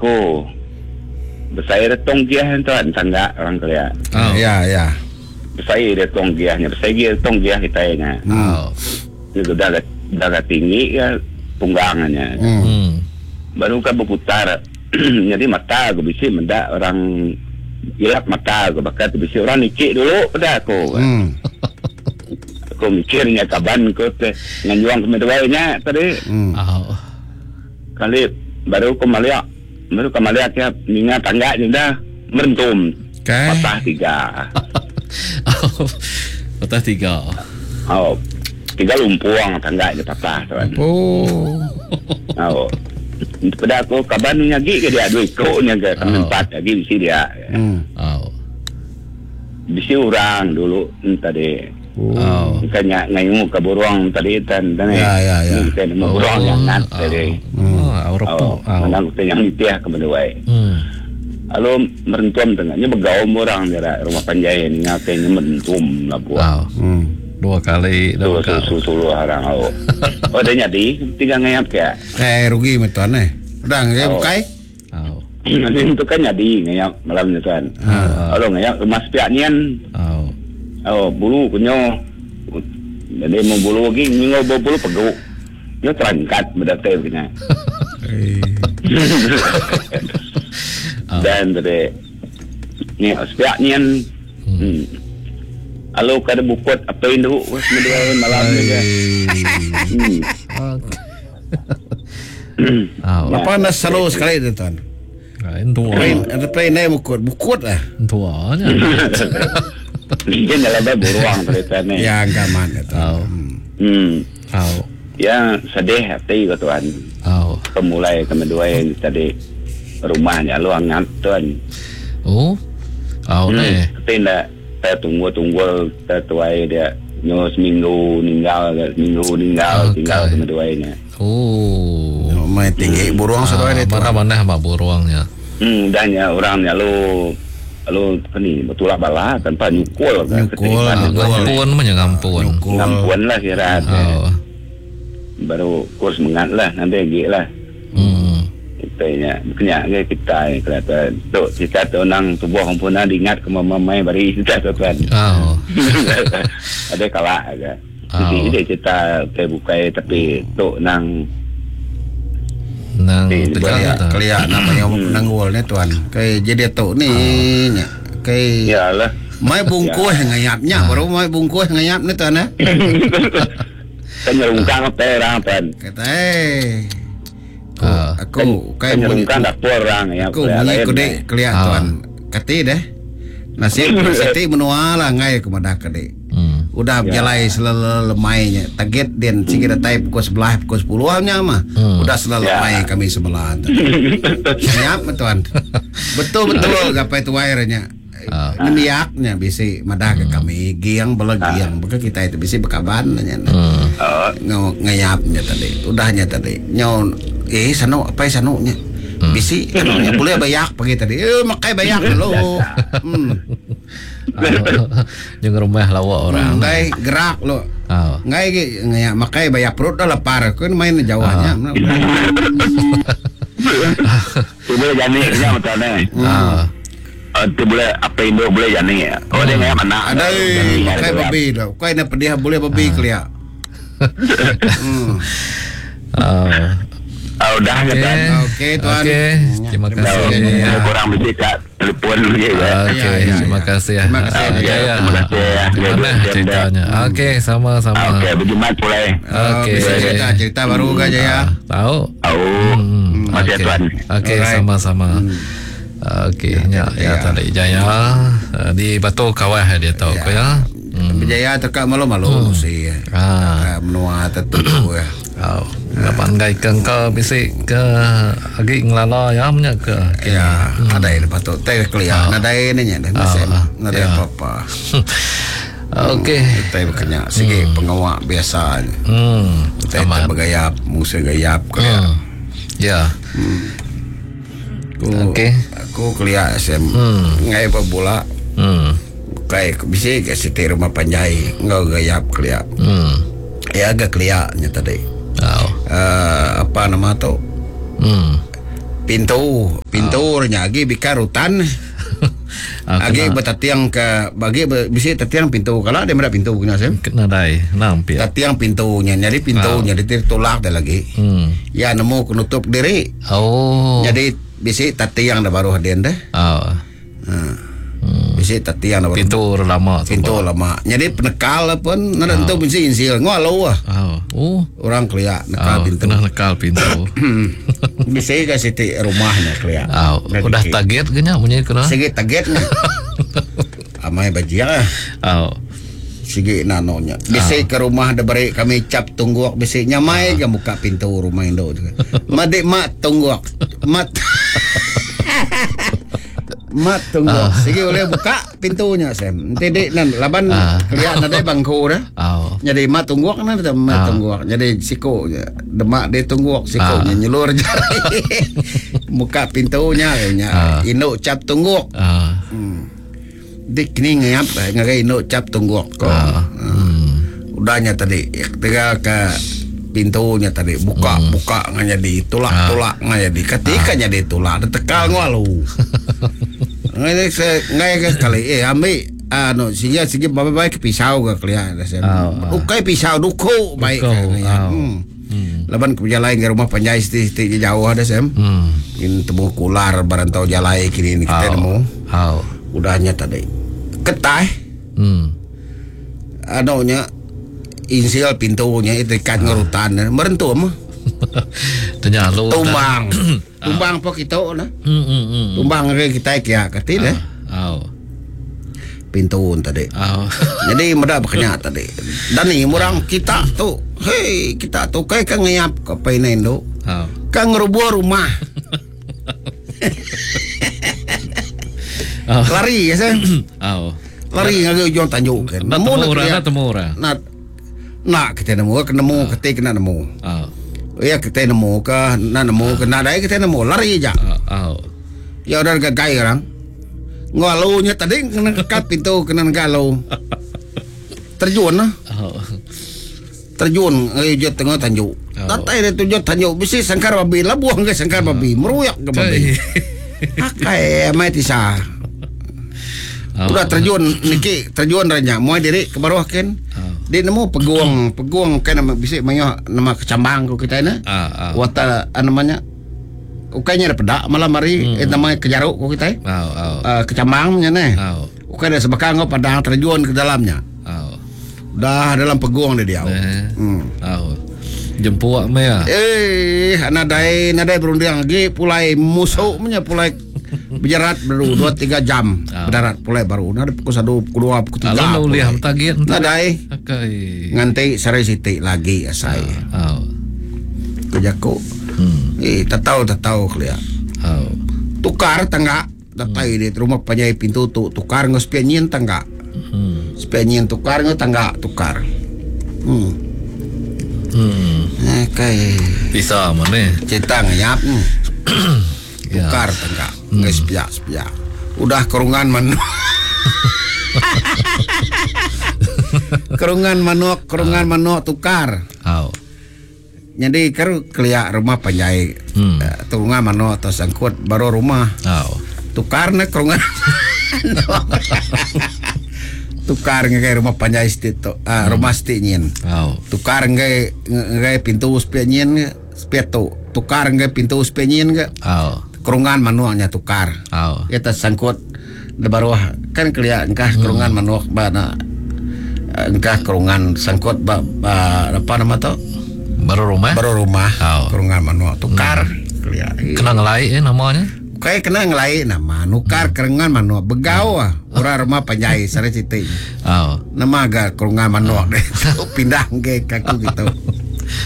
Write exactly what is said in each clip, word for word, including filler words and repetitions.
Aku besai ada tong giah tuan tangga orang kelia. Oh. Ya, ya. Besai dia tong giahnya, besai dia tong giah kita nya. Oh. Itu dah dah tinggi ya tunggangannya. Hmm. Hmm. Baru kan berputar. Jadi mata aku bisi mendak orang ilap mata aku bakal tu bisi orang nikik dulu pada aku. Hmm. Aku mikirnya kaban aku teh nganjuang ke meduainya tadi. Hmm. Oh. Kali baru ke maliak baru ke maliak ya ninga tangga je dah merentum. Okay. Patah tiga. Oh. Patah tiga. Oh. Tiga lumpuang tangga je patah tuan. Oh. Oh. Pada aku kaban ni lagi ke dia dua ikut nya ke kami Oh. empat lagi bisi dia. Hmm. Oh. Bisi orang dulu hmm, tadi. Oh. Bukannya ngayu ke burung tadi tan tan. Ya, ya, ya. Kita nemu burung yang ngat tadi. Oh, oh, Oh, oh. mana kita yang nitiah ke menduai. Hmm. Lalu merentum tengahnya begaum orang dia rumah panjai ni ngatain merentum lah buat. Oh. Hmm. Dua kali, dua Sulu kali. sulu sulu harang oh. Oh dia jadi tiga ngayap ya. Eh rugi mah tuan eh. Udah ngai Oh. bukai. Oh. Nanti itu kan jadi ngayap malam ni tuan. Kalau ngayap rumah sepiak nian Oh. oh bulu punya. Jadi mau bulu lagi minggu bulu peguk. Dia terangkat berdatai begini. Eh. Dan tadi ni sepiak nian. Hmm. Lalu kada bukut apa induk wes menduai malam ni ke. Hmm. Oh. Apa nak selalu sekali tu tuan. Ah, Tua. Play play naik bukut, bukut lah. Tuanya. Dia nyala bai buruang tadi tuan ni. Ya gaman tu. Oh. Hmm. Oh. Ya sedih hati ke tuan. Oh. Pemulai ke menduai ni tadi rumahnya lu angat tuan. Oh. Oh Hmm. ni. Tapi nak saya tunggu-tunggu saya tuai dia nyo seminggu ninggal seminggu ninggal Okey. tinggal ke menduainya. Oh. Mai tinggi burung satu Ah, hari tu. Mana mana mak buruangnya. Hmm, dahnya orangnya lu lu apa ni bertulak bala tanpa nyukul kan. Nyukul, Ketiripan ah, itu. Ngampun mah ngampun. Nyukul. Ngampun lah kira. Oh. Baru kurs mengat lah nanti lagi lah. Hmm. Kita nya kena ke kita ni kelihatan. Tu kita tu nang tubuh hempuna diingat ke mamai bari kita tu tuan. Oh. Ada kalak ke. Oh. Jadi dia cerita ke bukai tapi tu nang Nang Eh, tegang Keliak, tu. keliak nak yang nanggul ni tuan. Kai jadi tu ni nya. Kai iyalah. mai bungkus ngayapnya baru mai bungkus ngayap ni tuan eh. Kan nyerungkang apa orang tuan. Kata eh. Ah. Aku kai Kan bunyi nyerungkang dapur orang ya. aku bunyi kude keliak Ah. tuan. Kati deh. Nasib siti menua lah ngai ke madah kade. Hmm. Udah berjalai selelemainya. Target den sigi datai pukul sebelah pukul sepuluh nya mah. Hmm. Udah selelemai Ya. kami sebelah. Siap tuan. Betul betul gapai tuai nya. Ah. Nemiaknya bisi madah ke kami giang bela giang beka kita itu bisi bekaban nya. Hmm. Oh, Ngau ngayapnya tadi. Udahnya tadi. Nyau eh sanu apa sanunya. Bisi anunya boleh bayak pagi tadi. Eh makai bayak dulu. Hmm. Jangan rumah lawak orang. Ngai gerak lo. Oh. Ngai ge ngayak makai bayak perut dah lapar. Aku ni main jauhnya. tu boleh jani nya betul ni. Ah. Oh, tu boleh apa induk boleh jani. Oh dia ngayap anak. Ada Jani, makai ada. babi dah. Kau nak pedih boleh babi kelia. Hmm. Ah. Oh, dah ke tuan. Okey tuan. Okey, terima kasih. Ya. Kurang mesti kat telefon lagi. ya. Okey, Ya, ya, terima ya. kasih. Terima kasih, Ah, ya. Jaya. Terima kasih, ya. Mana Ya, ceritanya? Okey, sama-sama. Okey, berjumat pulai. Okey. Oh, bisa cerita cerita baru ke Jaya. Tahu? Oh, Hmm, masih okey. tuan. Okey, Alright. sama-sama. Okey, ya, ya tadi Jaya eh, di Batu Kawah dia tahu ya. ya. Hmm. Jaya tekak malu-malu si. Ah. Ah, menua tertentu ya. Oh, dapat ngai ke engkau bisi ke agi ngelala ya punya ke. Ya, ada yang patut teh kelia. Nadai ni nya dah nasib. Ah, Nadai ya. apa-apa. Okey. Teh berkenyak sigi pengawak biasa. Hmm. Teh Aman. bergayap, musuh gayap kelia. Hmm. Ya. Aku Okey. aku kelia sem. Ngai bola. Hmm. Kai bisi ke siti rumah panjai ngau gayap kelia. Hmm. Ya agak kelia nya tadi. Oh. Uh, apa nama tu? Hmm. Pintu, pintu oh. Nya agi bikar hutan. Agi bertatiang ke bagi bisi tatiang pintu kalau dia medak pintu kena sem. Kena dai, nampi. Tatiang pintunya, jadi pintunya oh. Ditolak dah lagi. Hmm. Ya nemu kenutup diri. Oh. Jadi bisi tatiang dah baru hadin dah. Oh. Ha. Hmm. Bisi tatiang dah baru. Pintu lama tu. Pintu lama. Jadi penekal pun nak tentu oh. Bisi insil ngalo ah. Oh. Oh. Orang keliak nekal oh, pintu. Kena nekal pintu. Bisi ke siti rumahnya keliak. Oh. Udah target ke nya bunyi kena. Sigi targetnya. Amai bajia. Oh. Sigi nanonya. Bisi oh. Ke rumah dah beri kami cap tungguk bisi nyamai oh. Ke buka pintu rumah induk juga. Madik mak tungguk. Mat Mat tunggu. Uh. Sigi boleh buka pintunya sem. Nanti nan laban uh. Keliak nadai bangku dah. Oh. Jadi mat tungguk nan mat uh. tungguk. Jadi siko demak dia tungguk siko uh. Nyelur jari. Buka pintunya nya. Uh. Induk cap tungguk. Uh. Hmm. Dik ni ngap ngagai induk cap tungguk ko. Uh. Hmm. Udahnya tadi tinggal ke pintunya tadi buka hmm. Buka ngan jadi tulak-tulak ah. Ngan jadi ketika ah. Jadi tulak tekal ngalu. Ngai ngai ke kali eh ambil anu sigi sigi baik pisau ke kalian oh, ukai pisau duku baik ya. Hmm. Hmm. Laban ke jalan ke rumah panjai siti jauh ada sem. Hmm. Ini temu kular barantau jalai kini ni kita oh. nemu. Oh. Udahnya tadi ketai. Hmm. Anunya insil pintunya itu ikat ah. Ngerutan merentum. Tanya lu tumbang. Tumbang po kita nah. Hmm, hmm, hmm. Tumbang ke kita kia kati deh. Oh. Pintu tadi. Oh. Jadi mudah berkenya tadi. Dan ni orang kita tu, hei kita tu kai kan ngayap ke painendo. Oh. Kan ngerubuh rumah. Oh. Lari ya sen. Oh. Lari ngagai ujung tanjuk kan. Nemu orang, nak temu orang. Nak nak kita nemu, nemu Oh. kita kena nemu. Oh. Ya kita nemu ke, nak nemu ke, nak dai kita nemu, lari aja. Oh. Oh. Ya udah gagai orang. Ngalunya tadi kena kekat pintu kena galau. Terjun lah. Oh. Terjun eh je tengah tanjuk. Oh. Datai dia tujuh tanjuk bisi sangkar babi lah buang ke sangkar babi, meruyak ke babi. Akai mai tisa. Oh. Udah terjun niki terjun ranya muai diri ke bawah kan. Oh. Dia nemu peguang, peguang kan nama bisi mayo nama kecambang ko kita na. Ah, ah. Wata namanya ukainya ada pedak malam hari Hmm. eh, namanya kejaruk ko kita. Oh, oh. Uh, kecambang nya ne. Oh. Ukai ada sebakang ko padang terjun ke dalamnya. Oh. Dah dalam peguang dia dia. Eh. Hmm. Oh. Jempuak meh. Eh, nadai nadai berunding lagi pulai musuh punya pulai berjarat baru dua tiga jam Ah. berdarat pulai baru. Nah, pukul satu, pukul dua, pukul tiga. Lalu pulai. lihat target Nadai Akai. nganti sare siti lagi asai. Oh. Kejaku. Hmm. Eh, tatau tatau kelia. Oh. Tukar tangga datai di rumah panjai pintu tu tukar ngos penyin tangga. Hmm. Sepenyin tukar ngos tangga tukar. Hmm. Hmm. Eh, kai Bisa mana? cerita ngayap. Hmm. Ya. Tukar tangga ngos sepiak sepiak. Udah kerungan manuk. Kerungan manuk, kerungan manuk tukar. Oh. Jadi keru keliak rumah panjai. Hmm. Eh, Kerungan manuk atau sangkut baru rumah. Oh. Tukar na kerungan. Tukar ngagai rumah panjai situ tu. Ah, rumah situ nyin. Oh. Tukar ngagai ngagai pintu sepia nyin sepia tu. Tukar ngagai pintu sepia nyin ke. Oh. Kerungan manuaknya tukar. Oh. Kita sangkut di bawah kan keliak engkah kerungan manuak ba na engkah kerungan sangkut ba, ba apa nama tu? Baru rumah. Baru rumah Oh. kerungan manuak tukar keliak. Kena ngelai eh namanya. Kayak kena ngelai nama nukar hmm. kerungan manuak begau ah orang rumah panjai sare citi. Oh. Nama agak kerungan manuak deh. Pindah ke kaku gitu.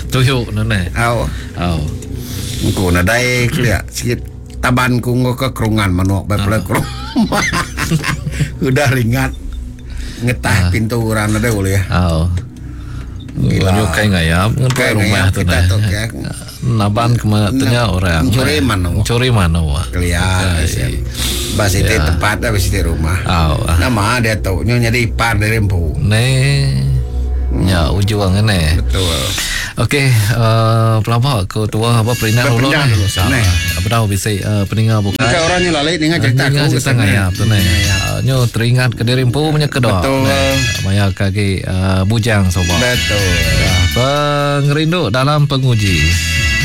Tuyuk nene. Au. Oh. Engko nadai keliak sikit taban ku ngo ke kerungan manuak bae pula kerung. Udah ringat ngetah pintu orang nadai boleh ya. Oh. Gila. Gila. Kai ngayap Kai ngepai rumah ngayap tu kita nah. tu, ya. Naban kema tanya orang. Mencuri manuk. Mencuri manuk. Keliak. Bas itu Ya. tempat dah bas itu rumah. Oh. Nama dia tu nyo jadi ipar dari empu. Ne. Ya ujung ne. Betul. Okey, uh, pelaba ke tua apa perintah dulu. Perintah dulu, sana. Bedau bisi uh, peninga bukai. Bukan orang ni lalik ninga cerita Ninga aku. cerita ngayap tu ni. Uh, nyo teringat ke diri empu punya kedok. Betul. Maya kaki uh, bujang sobat. Betul. Ya, pengerindu dalam penguji.